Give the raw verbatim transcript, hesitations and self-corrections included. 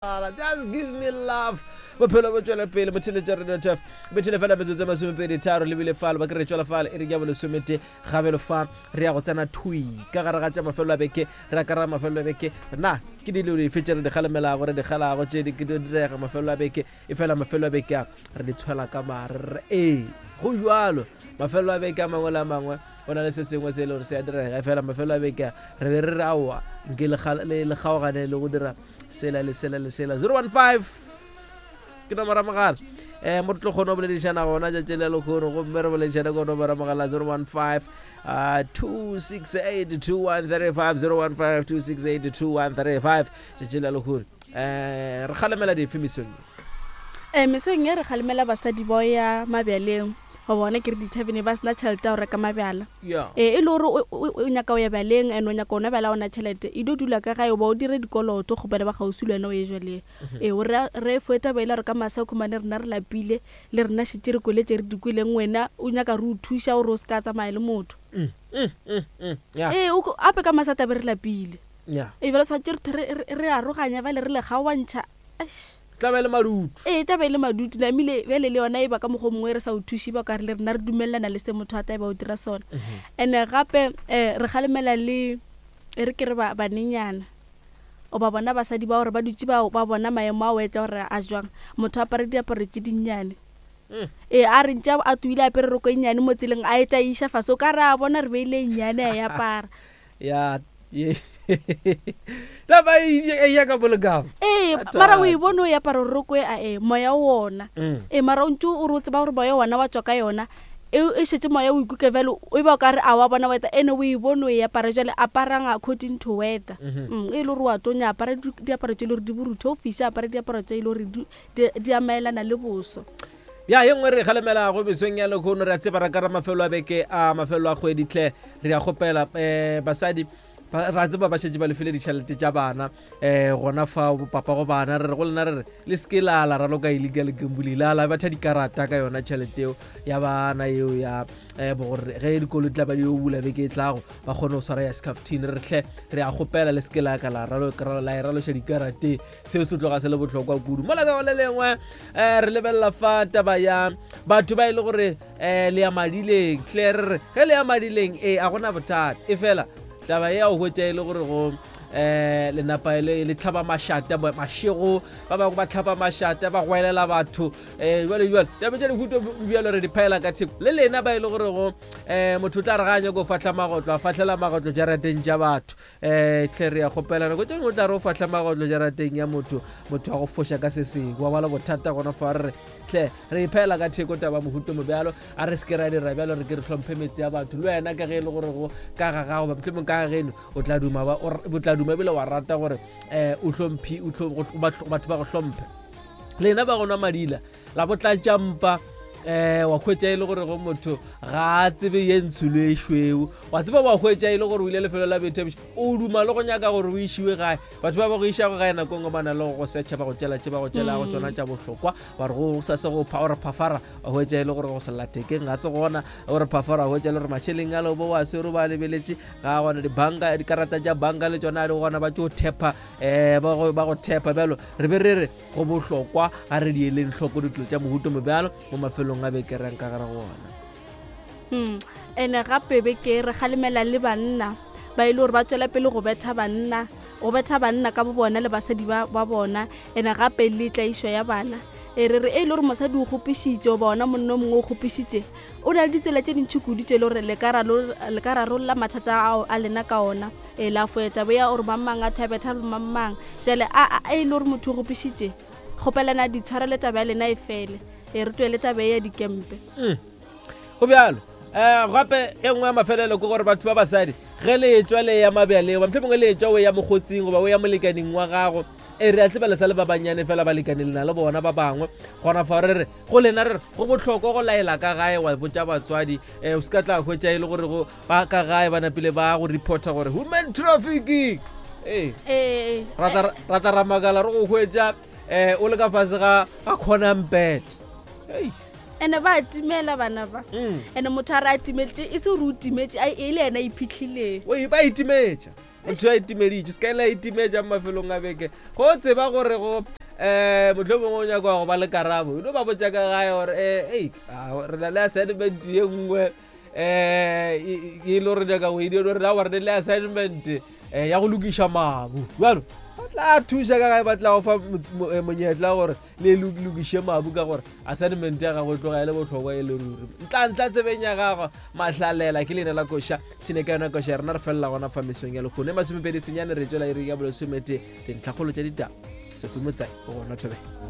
Just give me love. Bophelo bo tšwela pele motheletša radio tf bethele fela metsotso e masomepedi tharo lebile fale ba ke re tšwela fale e re ke ya bolesomete gabelo fa re ya go tsena thui ka gare ga tša mafelelo a beke re ya ka gare ga mafelelo a beke na ke dilo dife tše re di kgalemelago re di kgalago tše di direga mafelelo a beke e fela mafelelo a beke a re di tshwela ka mare re ee go jalo mafelelo a beke a mangwe le a mangwe go na le se sengwe se e le gore se a direga e fela mafelelo a beke a re be re re aowa nke le kgaogane le go dira sela le sela le sela zero one five ke nomoro ya mogala um mo re tlo kgone go boledišana gona tšatši le lekgono gomme re boledišane ko nomoro ya mogala zero one five uh, two six eight two one three five zero one five two six eight two one three five tšatši le lekgono um re kgalemela dife mesong e mesong e re kgalemela basadi bao ya mabjaleng go bona ke re dithavene ba sena tšhelete ya go reka mabjala ee e le gore o nyaka o ya bjaleng and o nyaka ona bjala ona tšhelete e dio dula ka gae ba o dire dikoloto kgopele ba kgauswi le wena o ye jwaleng ee o re foeta ba ile gore ka masa o khumane rena re lapile le rena šetse re kwele tše re di kweleng wena o nyaka re o thuša gore o se ka tsamaya le motho ee ape ka masa tabe re lapile ee bjale tshwanetse re aroganya bale re le kgaoantšha tla be le madutu ee tla be le madutu namile bjale le yona e ba ka mokgwa o mongwe re sa o thuše ba ka re le rena re dumelelana le se motho a tla e ba o dira sona and-e gape um re kgalemela le e re ke re banenyana o ba bona basadi ba gore ba dutse ba bona maemo a o etla gore a jwang motho a apare diaparo tše dinnyane ee a re ntše a tuile apere roko e nnyane mo tseleng a e tla iša fase o ka re a bona re beile e nnyane a e apara ya taba e ya ka bolekamo ee mara o e bone o e apara roko e a e moya wona ee mara o ntse o re o tseba gore moya wona wa tswa ka yona e šetse moya o ikuke bjale o ba o ka re a wa bona weather ene o e bone o e apara jale aparang according to weather e le gore wa tonya apara diaparo tse e le gore di borutho o fiša apara diaparo tse e le gore di amaelana le boso ya ye nngwe re kgalemelago mesong ya lekgono re a tseba ra ka ra mafelo a beke a mafelo a kgwedi tlhe re a kgopela um basadi ra tseba ba šetše ba lefile ditšhelete tša bana um gona fa papa go bana re re go lena re re le seke la la raloka illegal gambling la la batha dikarata ka yona tšhelete eo ya bana eo ya um gore ge dikolo di tla ba di yo bula beke e tlago ba kgone go swara ya scaftin re tlhe re a kgopela le seke la ka la e raloša dikarate seo se tloga se le bohlokwa kudu mo labego le lengwe um re lebelela fa taba ya batho ba e le gore um le ya madileng tle re re ge le ya madileng ee a gona bothata e fela taba ya go hwetša e le gore go um lenapa le tlhaba mašata mašego ba bangwe ba tlhaba mašata ba goelela batho um jale jale taba tša dihuto bjalo re di phaela ka theko le lena ba e le gore go um motho o tla re ga a nyako fahla magotlo a fahlela magotlo jarateng tša batho um tlhe re ya kgopela nako tše dingwe o tla re o fahla magotlo jarateng ya motho motho wa go foša ka se sengwe wa ba le bothata gona fa re re tlhe re iphaela ka theko taba mohuto mo bjalo a re se ke ra dira bjalo re ke re hlomphe metse ya batho le wena ka ge e le gore go ka ga gago mohlomong ka ga geno o tla duma o tla duma ebile wa rata gore um o hlomphi batho ba go hlomphe lena ba go nwa madila la bo tlatša mpa um wa hwetša e le gore go motho ga a tsebe ye ntsho le e šweu wa tseba wa hwetša e le gore o ile lefelo la boithabišo o duma le go nyaka gore o išiwe gae batho ba ba go išago gae nako nngwe ba na le go go setšha ba go tšela tše ba go tšelago tsona tša bohlokwa ba re go sa se go ore phafara wa hwetša e le gore go se lathekeng ga se gona ore phafara wa hwetša e le gore mašeleng a lebo wa swere ba lebeletše ga gona dibanka dikarata tša banka le tsona di gona ba tšo thepa um ba go thepa bjalo re be re re go bohlokwa ga re di eleng hloko ditulo tša mohuto mo bjalo mo mafelong a beke reng ka gare go ona ene gape beke re kgalemela le banna ba e le gore ba tswela pele go betha banna go betha banna ka bo bona le basadi ba bona ene gape le tlaišo ya bana e re re e le gore mosadi o kgopišitše goba ona monna o mongwe o kgopišitše o na le ditsela tše dintšhi kudu tše e le gore le ka rarolla mathata ao a lena ka ona e la foeta boya gore mang a thabetha le mang mang jale a e le gore motho o kgopišitše kgopelana ditshwarelo taba ya lena e fele e re tloele taba e ya dikempe go bjalo um gape e nngwe ya mafelelo ke gore batho ba basadi ge le etswa le ya mabjaleng goba mohlomongwe le etswa o ya mokgotsing goba o ya molekaneng wa gago e re a tseba le sa le ba bannyane fela balekane le na le bona ba bangwe gona fa re re go lena re re go bohlokwa go laela ka gae wa botša batswadi um o se ka tla hwetša e le gore go ba ka gae ba napile ba go reporta gore human trafficking ee ra tla ra makala re go hwetša um o le ka fase ga ga kgonampete ene ba timela bana ba ene motho a re a timetše e se gore o timetše e le yena a iphihlileng ba itimetša Motho a itimeditše, se ka ile a itimetša mo mafelong a beke. Go tseba gore go um motlho mongwe o nyaka go ba le karabo, o no ba botša ka gae gore um ei, re na le assignment ye nngwe um e le gore nyaka go e dira, re na re le assignment um ya go lokiša mabu. Bjalo ba tla thuša ka gae, ba tla go fa monyetla gore le lokiše mabu, ka gore assignment ya gago e tloga e le bohlokwa e le ruri. Ntla-ntla tsebeng ya gago Mahlalela ke leina la koša tšhine ka yona koša rena re felela gona fa mesong ya lekgono e masomepedi senyane re tšwela iri ya bolesomete dintlhakgolo tša ditaba. Sophie Motsai o gona thobela.